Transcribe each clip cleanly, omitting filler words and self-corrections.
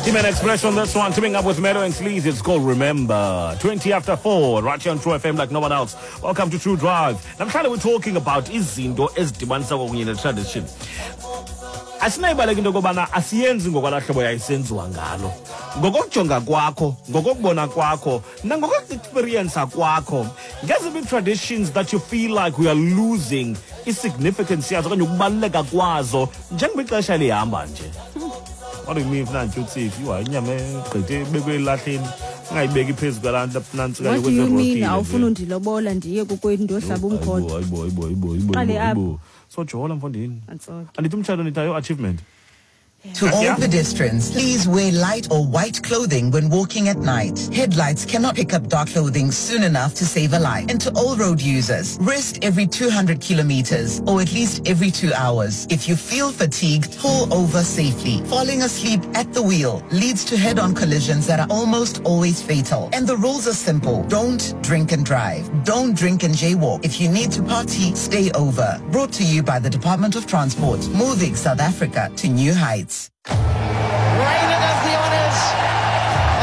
Team Express on this one, teaming up with Meadow and Sleaze. It's called Remember. 20 after 4, right here on True FM like no one else. Welcome to True Drive. Namhlanje we're talking about izinto ezidibanisa kwakunye ne-tradition. Asinayibaleka into yokobana asiyenzi ngokwalaa hlobo yayisenziwa ngalo. Ngokokujonga kwakho, ngokokubona kwakho, nangokoku-experiensa kwakho, ngeziphi ii-traditions that you feel like we are losing i-significance yazo okanye ukubaluleka kwazo njengoba ixesha lihamba nje? What do you mean funa ntyutsifi? Yhu, hayi, inyama egqithe ibekwe elahleni ungayibeki phezu kwalaa nto nantsi. What do you mean awufuna undilobola ndiye kokwethu ndiyohlaba umkhonto? Hayibo, hayibo, hayibo, hayibo. Qale apha. Hayibo, sojola mfondini. Antsoke. Andithi umtshato nithi ayo achievement. To all pedestrians, please wear light or white clothing when walking at night. Headlights cannot pick up dark clothing soon enough to save a life. And to all road users, rest every 200 kilometers or at least every 2 hours. If you feel fatigued, pull over safely. Falling asleep at the wheel leads to head-on collisions that are almost always fatal. And the rules are simple. Don't drink and drive. Don't drink and jaywalk. If you need to party, stay over. Brought to you by the Department of Transport, moving South Africa to new heights. Raina does the honours,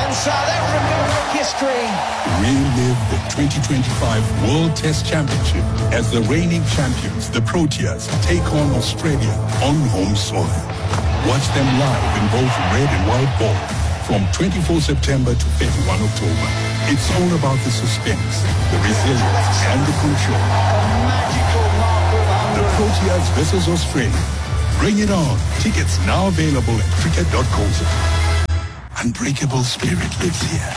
and South Africa make history. Relive the 2025 World Test Championship as the reigning champions, the Proteas, take on Australia on home soil. Watch them live in both red and white ball from 24 September to 31 October. It's all about the suspense, the resilience, and the control. Magical mark of The Proteas versus Australia. Bring it on. Tickets now available at cricket.co.za. Unbreakable spirit lives here.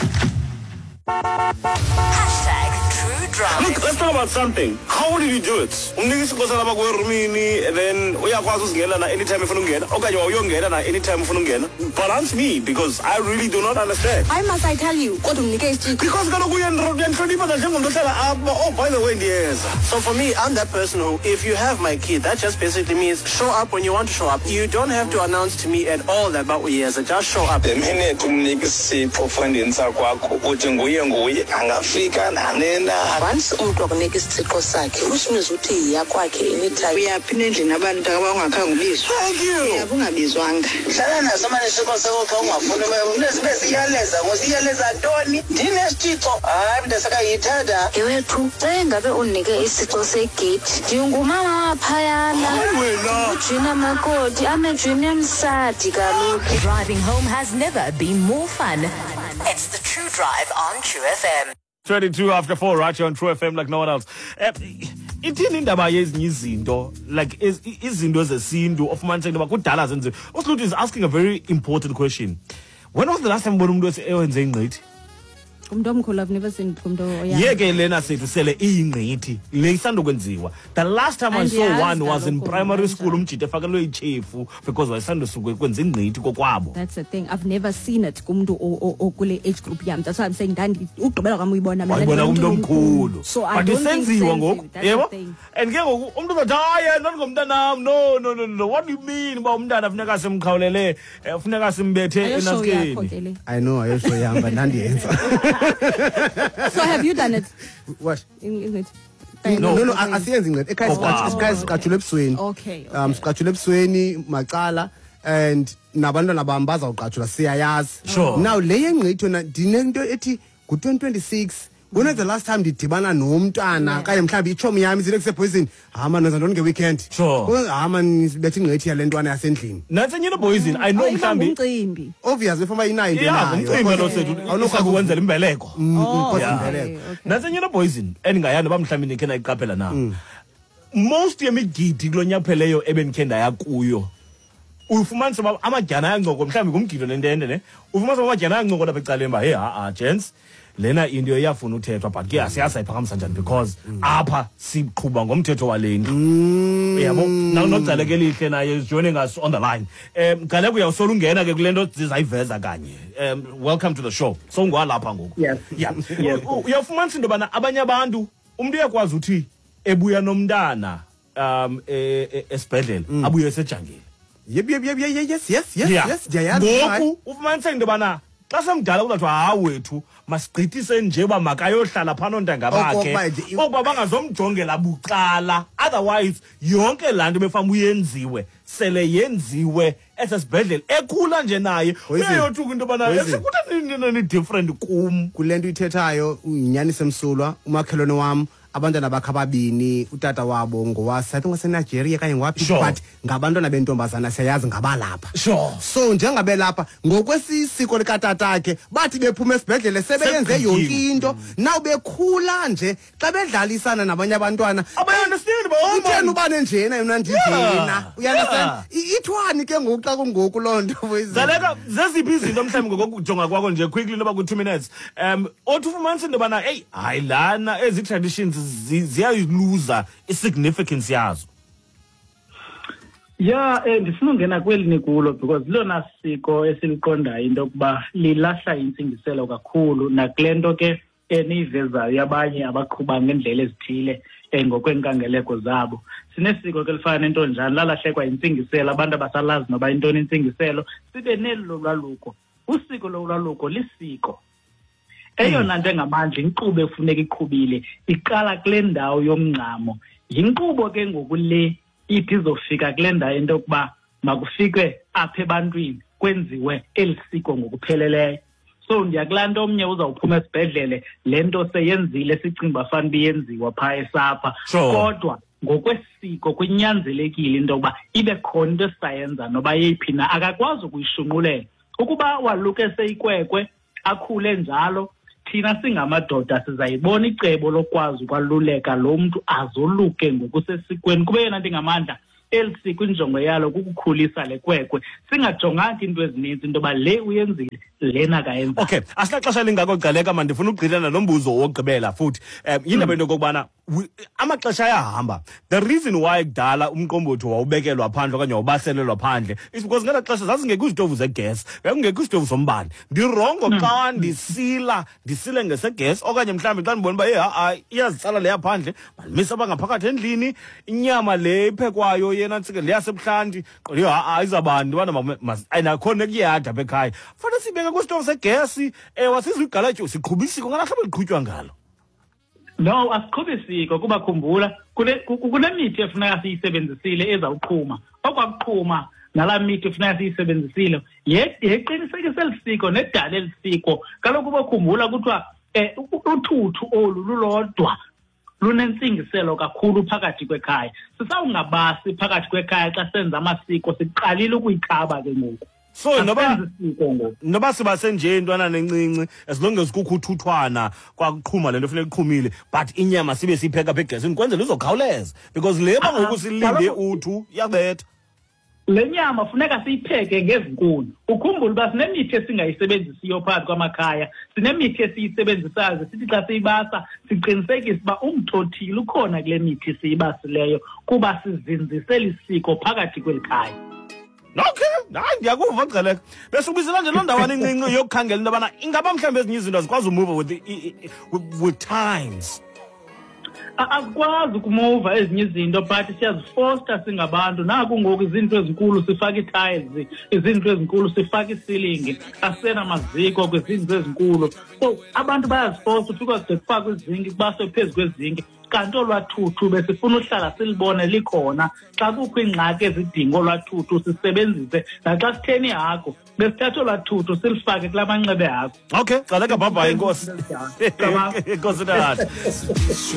#TrueDrive. Look, let's talk about something. How did you do it? Umnika isixhosa lapha kwerumini and then uyakwazi uzingena na anytime efuna ungena okanye wawuyongena na anytime ufuna ungena. Balance me because I really do not understand. Why must I tell you? Kodwa umnike isitshixo. Because kaloku uyandihlonipha njengomntu ohlala apha. Oh, by the way, ndiyeza. So for me, I'm that person who, if you have my key, that just basically means show up when you want to show up. You don't have to announce to me at all that about uyeza. Just show up. The minute umnika isipho fundini sakwakho, uthi nguye nguye angafika nanina. Once umntu akunika isithixo sakhe, which means uthi yiya kwakhe anytime. Uyaphi nendlini abantu aba ungakhange ubizwa? Thank you. Uyaphi ungabizwanga? Hlala naso mane isixo sakho xa ungafuni. Sibe siyaleza ngosiyaleza ntoni? Ndinesithixo, hayi mntasakayithatha. Yewethu, xa engabe undinike isixo segeyithi, ndingumama waphayana. Hayi wena. Ujina makoti amejuni emsadi kaloku. Driving home has never been more fun. It's the True Drive on True FM. 22 after 4 right here on True FM like no one else. Ithini indaba yezinye izinto, like izinto zesintu ofumaniseka into yoba kudala zenziwe? Uslutu is asking a very important question. When was the last time ubona umuntu ewenze ingqithi? Umntu omkhulu, I've never seen kumntu oya. Yeke lena sethu sele iyingqithi le isandokwenziwa. The last time I saw Andiyazi one was in kaloku primary mna. school, umjita efakelwe itshefu because wayesandosuke kwenza ingqithi kokwabo. That's the thing. I've never seen it kumntu okule age group yam. That's why I'm saying ndandi ugqibela kwam uyibona mina Wayibona ndibona kumntu omkhulu. So I But don't think isenziwa senziwe. ngoku. That's the Yebo. thing. And ke ngoku umntu uzothi, hayi, not ngomntanam. No, no, no, no. What do you mean uba umntana funeka simkhawulele, funeka simbethe Ayoshow yakho enantsikeni? Ke le. I know ayosho yam, but ndandiyenza. So have you done it? What? In it? No, asiyenzi ingqethi ekhaya. Ekhaya siqatshula ebusweni. Siqatshula ebusweni macala and nabantwana bam bazawuqatshula, siyayazi. Now le yengqithi yona ndinento ethi ngu-2026. When was the last time ndidibana nomntana okanye mhlawumbi itshomi yam izile kusebhoyizini, hama nenza ntoni ngeweekend? Hama sibethe ingqithi yale ntwana yasendlini. Nantsi enye into, boyizini, I know Oh, iba mhlawumbi ngumcimbi. Obvious before inayo into Ya, enayo. ngumcimbi lo sethu. Awunokwazi Ukwenzela imbeleko. Because Yeah. imbeleko. Nantsi enye into, boyizini, endingayani uba mhlawumbi nikhe nayiqaphela na. Most yemigidi kulo nyaka upheleyo ebendikhe ndaya kuyo, ufumanisa uba amadyana ayancoko, mhlawumbi ngumgido nentente ne, ufumanisa uba amadyana ayancoko lapha ecaleni uba, hey, ha-a gents, lena into iyafuna uthethwa, but ke asiyazi ayiphakamisa njani because apha siqhuba ngomthetho wale ndlu, uyabo. Nogcaleka elihle naye is joining us on the line. Gcaleka, uyawusola ungena ke kule nto zizayiveza kanye. Welcome to the show. Sowungwalapha ngoku. Yes. Yeah. Yes. Uyawufumanisa into yobana abanye abantu, umntu uyakwazi uthi ebuya nomntana esibhedlele, abuye esejangile. Yep, yes, ndiyayazi. Ngoku ufumaniseka into yobana xa semdala kuzathiwa, hayi wethu, masigqithise nje uba makayohlala phaa noontanga bakhe, okuba bangazomjongela bucala. Otherwise yonke laa nto befama uyenziwe sele yenziwe esesibhedlele, ekhula nje naye uyayothuka into yobana ekutheni ni-different kum. Kule nto uyithethayo yinyaniso emsulwa. Umakhelwane wam, abantwana bakhe ababini, utata wabo ngowase, I think waseNigeria kanye ngowaphi, but ngabantwana bentombazana, siyayazi ngabalapha. So njengabelapha ngokwesisiko likatatakhe, bathi bephuma esibhedlele sebeyenze yonke into. Now bekhula nje, xa bedlalisana nabanye abantwana, Abayi-understand. Utheni ubane njena, yona ndinjena, uya-understand? Ithwani ke ngoku xa kungoku loo nto? Zaleka, zeziphi izinto mhlawumbi ngokokujonga kwakho nje quickly, noba ku-2 minutes, othi ufumanise into yobana eyi hayi lana ezi traditions ziyayiluza i-significance yazo? Ya, ndifuna ungena kweli nikulo because lilona siko esiliqondayo into yokuba lilahla intsingiselo kakhulu, nakule nto ke eniyivezayo yabanye abaqhuba ngeendlela ezithile ngokweenkangeleko zabo. Sinesiko ke lifana nentonjani, lalahlekwa yintsingiselo, abantu abasalazi noba yintoni intsingiselo. Sibe neli lolwaluko. Usiko lolwaluko lisiko. Eyona nto engamandla, inkqubo efuneka iqhubile iqala kule ndawo yomngcamo. Yinkqubo ke ngoku le ithi izofika kule ndawo into yokuba makufikwe apha ebantwini, kwenziwe eli siko ngokupheleleyo. So ndiya kulaa nto, omnye uzawuphuma esibhedlele le nto seyenzile, sicinga uba fanuba iyenziwa phaa esapha. Kodwa ngokwesiko kunyanzelekile into yokuba ibe khona into esisayenza noba yeyiphi na. Akakwazi ukuyishunqulela ukuba waluke seyikwekwe, akhule njalo. Thina singamadoda sizayibona icebo lokwazi ukwaluleka lo mntu azoluke ngokusesikweni, kube yona nto ingamandla. Eli siko injongo yalo kukukhulisa le kwekwe, singajonganga iinto ezininzi, into yoba le uyenzile, lena akayenza. Okay, asinaxesha lingako, Gcaleka. Mandifuna ukugqithela lo mbuzo wokugqibela futhi. Yindaba into yokokubana amaxesha ayahamba. The reason why kudala umqombothi wawubekelwa phandle okanye wawubaselelwa phandle is because ngelaa xesha zazingekho izitovu zegesi, bekungekho izitovu zombane. Ndi-wrong xa ndisila, ndisile ngesegesi, okanye mhlawumbi xa ndibona uba eyi ha-a iyazitsala leya phandle, mandimise apha ngaphakathi endlini. Inyama le iphekwayo yena ntsike leyasebuhlanti, qonde ha-a izawuba ubana ayinakho nekuyada apha ekhaya, fanele siyibeke kwisitovu segesi. Ewe, asizuyigalatyo, siqhuba isiko ngalaa hlobo liqhutywa ngalo. No, asiqhubi siko, kuba khumbula kunemithi efuneka siyisebenzisile ezawuqhuma okwakuqhuma, nalaa mithi funeka siyisebenzisile yeqinisekisa eli siko nedala eli siko. Kaloku bokhumbula kuthiwa uthuthu olu lulodwa lunentsingiselo kakhulu phakathi kwekhaya. Sisawungabasi phakathi kwekhaya xa senza amasiko, siqalile ukuyikhaba ke ngoku. So noba Asenzi siko ngoku. Noba siba senje intwana encinci, as long as kukho uthuthwana kwakuqhuma le nto funeka iqhumile, but inyama sibe siyipheka apha egesini kwenzela izokhawuleza, because le ba ngoku silinde uthu iyabetha. Le nyama funeka siyipheke ngezinkuni. Ukhumbule uba sinemithi esingayisebenzisiyo phakathi kwamakhaya, sinemithi esiyisebenzisayo. Sithi xa siyibasa siqinisekise uba umthothile ukhona kule mithi siyibasileyo, kuba sizinzise lisiko phakathi kweli khaya. Okay, hayi, ndiyakuva, Gcaleka. Besubizela nje loo ndawana incinci yokukhangela into yobana ingaba mhlawumbi ezinye izinto azikwazi umuva with times. Azikwazi ukumuva ezinye izinto, but siyazifosta singabantu. Naku ngoku izinto ezinkulu sifaka ii-tiles, izinto ezinkulu sifaka ii-ceiling, asenamaziko kwizinto ezinkulu. So abantu bayazifosta, ufika kude kufakwe izinki, kubaswe phezu kwezinki, kanti olwaa thuthu besifuna uhlala silibone likhona. Xa kukho iingxaki ezidinga olwaa thuthu sisebenzise, naxa sitheni ihagu besithatha olwaa thuthu silifake kulaa manxeba ehagu. Okay, Gcaleka, bye bye, inkosi. Inkosi tata.